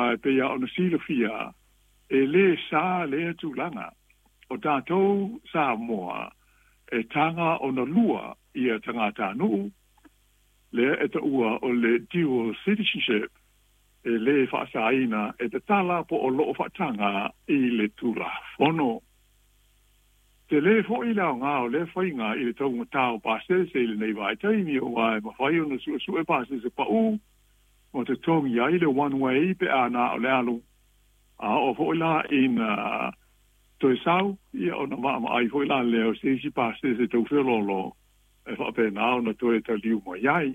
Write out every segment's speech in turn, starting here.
Aua e pei lava ona silafia, e lē sā lea tulaga. O tatou Samoa, e taga ona lua ia tagatanuu, lea e taua o le dual citizenship, e lē faasaina e tatala po o loo faataga i le Tulafono. Telē foi le aogā o lea faiga i le taugatā o pasese i lenei vaitaimi, auā e mafai ona suesue pasese paū ma totogi ai le one way pe a na o le alu, a oo foi la ina toe sau, ia ona vaavaai foi la lea o se isi pasese tau feoloolo e faapena ona toe taliu mai ai.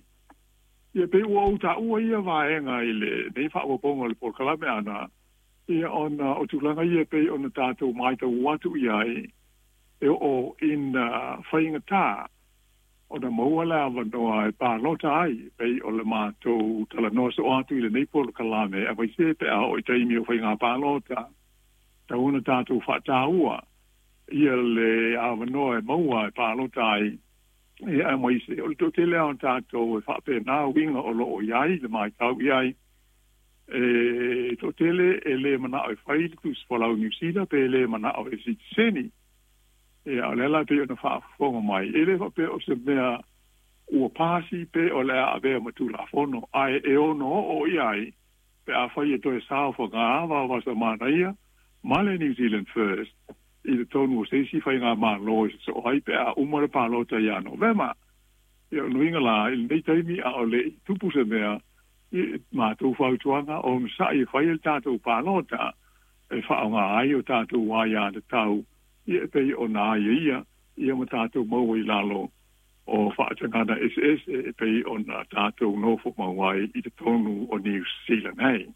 Ia pei ua ou taua ia vaega i lenei faaopoopoga o le polokalame ana, ia ona o tulaga ia e pei ona tatou matau atu i ai, e oo ina faigata ona maua le avanoa e palota ai, e pei o le matou talanoa soo atu i lenei polokalame, aemaise pe a oo i taimi o faiga palota, tatau ona tatou faataua ia le avanoa e maua e palota ai, ia aemaise o le toatele lava o tatou e faapena uiga o lo o i ai le matau i ai, e toatele e le manao e fai le tusi folau Niu Sila pe le manao e sitiseni. Ia, o lea la pei ona faafofoga mai, e le faapea o se mea ua pasi pe o le a avea ma Tulafono, ae e ono oo i ai pe afai e toe saofaga vaovasamanaia ma le New Zealand First i totonu o se isi faigamalo e sosoo ai pe a uma le palota ia Novema. Ia, o le uiga la, i lenei taimi a o le i tupu se mea, i matou fautuaga, onosai e fai le tatou palota e faaaoga ai o tatou aiatatau, ia e pei ona aiaia ia ma tatou maua i lalo o faatagaga eseese e pei ona tatou nofo mau ai i totonu o Niu Sila nei.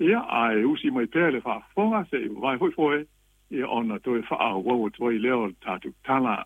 Ia, ae usi mai pea le faafofoga se i vavae foi foe, ia ona toe faaauau atu ai lea o le tatou tala.